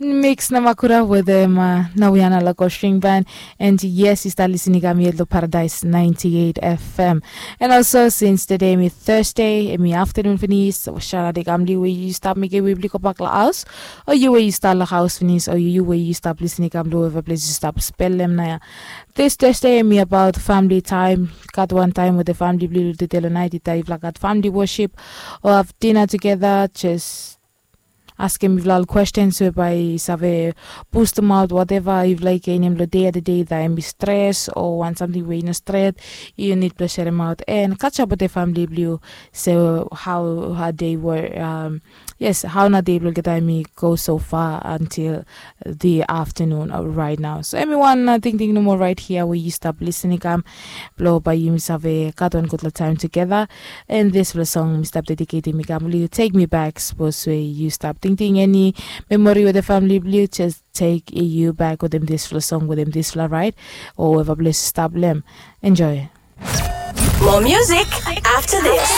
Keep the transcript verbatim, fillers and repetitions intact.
Mix na makura wetem nawiana loko string band. And yes, yu stap lisin i kam yet long Paradise ninety-eight F M. And also since today mi Thursday, emi afternoon finis, so shout out i kam long yu we yu stap mekim we bli go bak long haus, o yu we yu stap long haus finis, o yu we yu stap lisin i kam long weva ples yu stap spelem na ya. This Thursday emi about family time. Gat wan time wetem family blong yu long tede long nait, ita yufala gat family worship o have dinner together, just askem yufala ol questions we bae i save boostem aot whatever yufala i genem long dei, ata dei, ita emi stres o wan samting we i no stret, yu nid blong serem aot and catch up wetem family blong yu. So how, how dei were, um, yes, hao na dei blong olgeta emi go so far until the afternoon of right now. So emi wan tingting nomo right hia we yu stap lisin i kam blong bae yumi save gat wan gudfala taem tugeta. And dispela song mi stap dediketim i kam long yu, Take Me Back. Sapos we yu stap tingting eni memori wetem famili blong yu, jes tek yu bak wetem dispela song wetem dispela raet o weva ples yu stap long em. Enjoy. More music after this.